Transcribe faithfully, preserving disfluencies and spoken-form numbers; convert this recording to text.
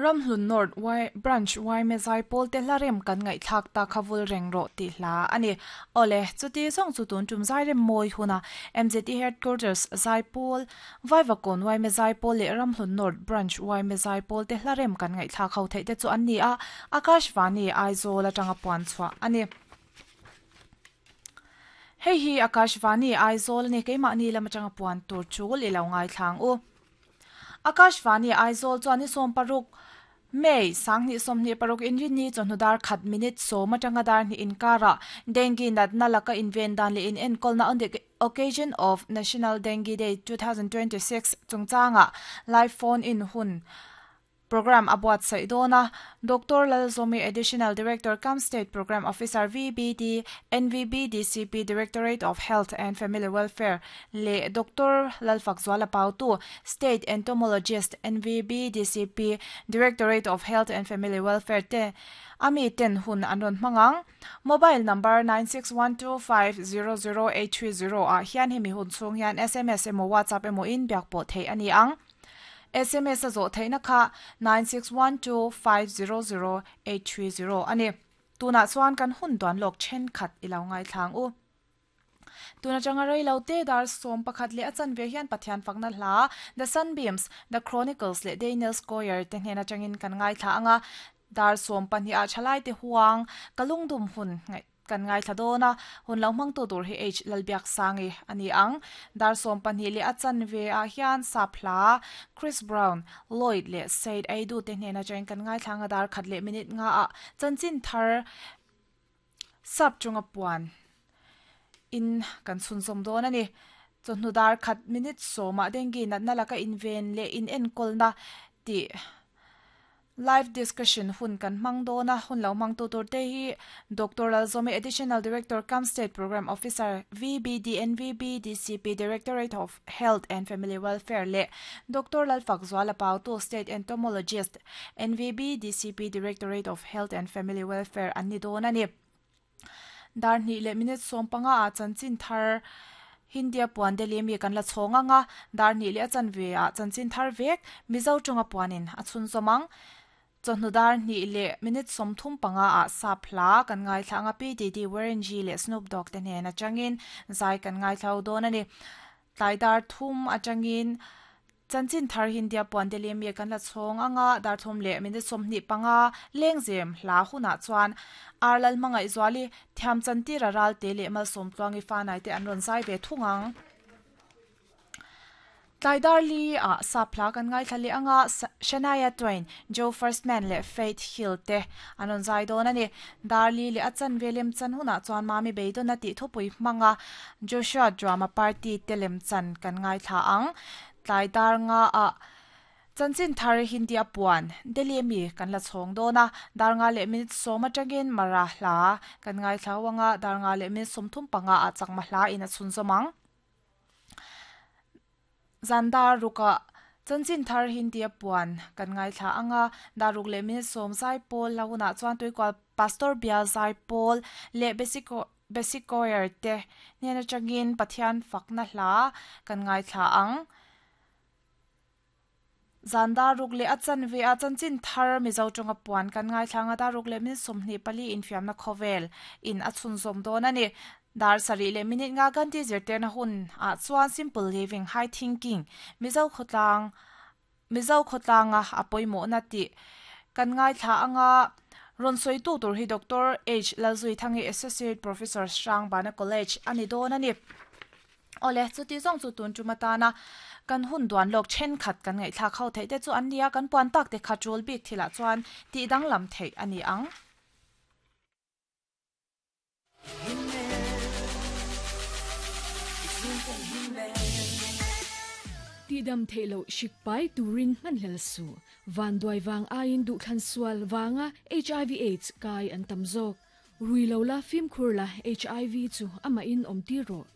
Ramhlun North Y Branch Y Zaipawl te hla rem kan ngaihthlak ta khavul reng ro ti hla ani ole chuti song chu tun tum zai rem moi huna M Z T Headquarters Zaipawl Vaivakawn Y Zaipawl le Ramhlun North Branch Y Zaipawl te hla rem kan ngaihthlak ho thei te chu an ni a. Akashvani Aizawl atanga puan chhuah ani. Hei hi Akashvani Aizawl ni. Keimah ni lam atanga puan tur chul i lo ngai thlang u. Akashvani Aizawl chuan ni sawm paruk May sang ni som ni paruk inrin ni chawhnu dar khat minute sawm atanga dar ni inkara dengue natna laka inven dan le in enkawl na on the occasion of National Dengue Day twenty twenty-six chungchanga live phone in hun program abuat sai dona. Doctor Lalzomi, Additional Director cum State Program Officer, V B D N V B D C P, Directorate of Health and Family Welfare le Doctor Lalfak Zwala Pautu, State Entomologist, N V B D C P, Directorate of Health and Family Welfare te ami ten hun anron mangang. Mobile number nine six one two five zero zero eight three zero a hian hemi hun chung hian S M S emo WhatsApp emo in biak pawh thei ani ang. S M S a zawh theihna kha nine six one two five zero zero eight three zero ani. Tuna chuan kan hun duan lok then khat ilo ngai thlang u. Tuna changa rei lo te dar som pakhat le achan ve hian Pathian fakna hla The Sunbeams, The Chronicles le Daniel Square te hnena changin kan ngai thla anga. Dar som pahnih a thalai te huang kalungdum hun ngai kan ngai thla dona. Hun lo mang tu tur hi H Lalbiak Sangi ani ang. Dar som pahnih le achan ve a hian saphla Chris Brown, Lloyd le Said Aidu te hnena chang kan ngai thlanga. Dar khat le minute nga a chanchin thar sap chunga puan in kan chhun som don ani. Chawhnu dar khat minute sawma dengue natna laka inven le in enkawl na ti live discussion hun kan mang dona. Hun lo mang tu tur te hi Doctor Lalzomi, Additional Director cum State Program Officer, V B D N V B D C P, Directorate of Health and Family Welfare le Doctor Lalfak Zwala Pautu, State Entomologist, N V B D C P, Directorate of Health and Family Welfare an ni don ani. Dar ni le minute som panga a chanchin thar Hindia puan Delhi mi kan la chhonga nga. Dar ni le chan ve a chanchin thar vek Mizo chunga puanin a chhun zomang. Chawhnu dar ni le minute som thum panga a saphla kan ngai thlanga P D D Warren G le Snoop Dogg te hnen atangin zai kan ngai thlau dawn ani. Tlai dar thum atangin chanchin thar Hindia puan Delhi mi kan la chhong anga. Dar thum le minute som ni panga lengzem hla huna chuan Arlal mangai zwali thiam chantira ral te le mal som tluangi fa nai te an ron zai ve thungang. Tlaidar li a saphla kan ngai thlali anga. Shania Twain, Joe Firstman le Faith Hill te anon zai don ani. Darli le achan velem chan huna chuan mami beidon na ti thupui manga Joshua Drama Party telem chan kan ngai thla ang. Tlaidar nga a chanchin thar Hindi apuan Delhi mi kan la chhong dona. Dar nga le minute soma tangin mara hla kan ngai thlawanga. Dar nga le minute somthum panga a chakma hla ina chhun zomang. Zandar ruka chanchin thar Hindi puan kan ngai thla anga. Daruk le min som zai pol launa chuan tuikwal Pastor bia zai pol le basic basic choir te nena changin Pathian fakna hla kan ngai thla ang. Zanda ruk le achan ve a chanchin thar Mizo tonga puan kan ngai thlanga. Daruk le min somni pali infiam na khovel in achun zom don ani. Dar sari le minute nga kan ti zirte na hun a chuan simple living, high thinking, Mizo khotlang Mizo khotlanga apoimo na ti kan ngai thla anga. Ron soi tu tur hi Doctor H Lalzui Thangi, Associate Professor, Shrang Bana College ani don ani. Ole, chu ti zong chu tun chumata na kan hun duan lok chen khat kan ngai thla khau thei te chu an nia. Kan puan tak te kha chul bik thila chuan ti dang lam thei ani ang. Ti dam thailo shikpai turin man hlel su van doi wang ain du khan sual wanga H I V AIDS kai an tamzok rui lo la phim khur la H I V chu ama in om ti ro.